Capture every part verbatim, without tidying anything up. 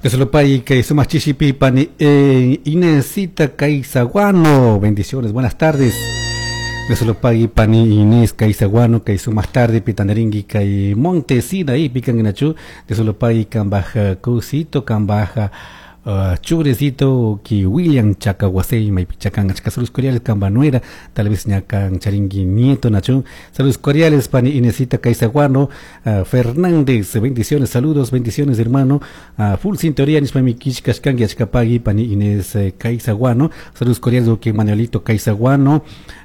Dios kay sumak chishipi pani eh, Inesita Caizaguano. Bendiciones, buenas tardes. Dios lo pague pani Inés Caizaguano kay sumak tarde pitandaringui kay Montesina y pican nachu. Dios lo pague cambaj cusito cambaj uh, churecito ki William Chacahuasei maypi chacan achka. Saludos cordiales cambanuera, tal vez ñakan charingui nieto nachu. Saludos cordiales pani Inesita Caizaguano uh, Fernández. Bendiciones, saludos, bendiciones, hermano. uh, full sintonía nishpami killkashkanki. Achka pagui pani Inés eh, Caizaguano. Saludos cordiales que Manuelito Caizaguano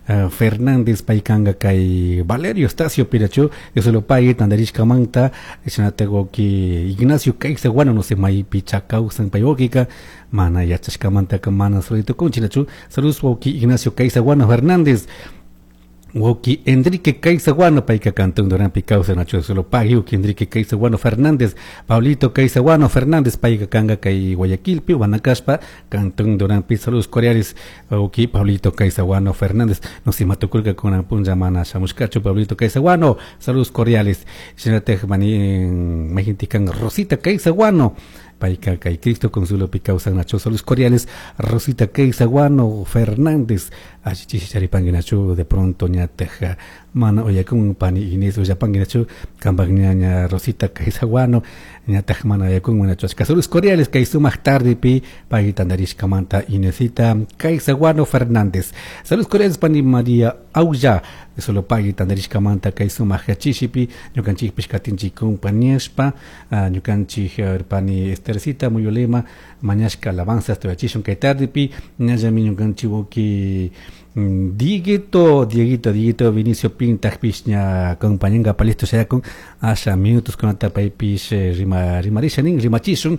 uh, Fernández, paykanga kay Valerio Estacio Pirachu. Dios lo pague tandarishkamanta. Shinatak Ignacio Caizaguano, no sé maypi chakawsan pay wawkika, mana yachashkamantaka mana saluditukunchik. Saludos, wawki Ignacio Caizaguano Fernández. Wawki Enrique Caizaguano, payka cantón Duranpi kawsan nachu. Solo pagui wawki Enrique Caizaguano Fernández. Pablito Caizaguano Fernández, payka kanga kay Guayaquilpi, Huanacaspa, cantón Duranpi. Saludos cordiales, wawki Pablito Caizaguano Fernández. No sé matukulka kunan punlla mana shamushkachu Pablito Caizaguano. Saludos cordiales. Shinatak mani mayjintikan Rosita Caizaguano, payka kay Cristo Consuelo pi kawsan nachu. Saludos cordiales, Rosita Caizaguano Fernández. Allichishi charipanki nachu. De pronto ñataj mana uyakun pani Inés ullapanki nachu kampak ñaña Rosita Caizaguano ñataj mana uyakun nachu. Achka saludos cordiales kay sumak tarde pi pay tandarishkamanta, Inesita Caizaguano Fernández. Saludos cordiales pani María Aulla, solo pagui tandarishkamanta kay sumak chishipi. Ñukanchikpish katinchik compañashpa ñukanchik pani Estercita Muyolema mañashka alabanzas tuyachishun kay tarde pi. Ñallami ñukanchik wawki Dieguito, Dieguito, Dieguito Vinicio Pintajpish ña compañanga palisto shayakun. Asha minutos kunata paypish rima rimarisha nin rimachishun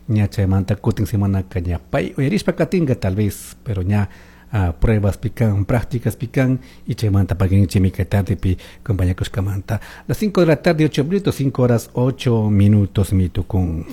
ña. Chaymanta kutin semanaka ña pay uyarishpa katinka tal vez, pero ña uh, pruebas pican, prácticas pican y chaymanta paguinchimi kay tarde pi compañakushkamanta. Las cinco de la tarde, ocho minutos, cinco horas ocho minutos mitukun.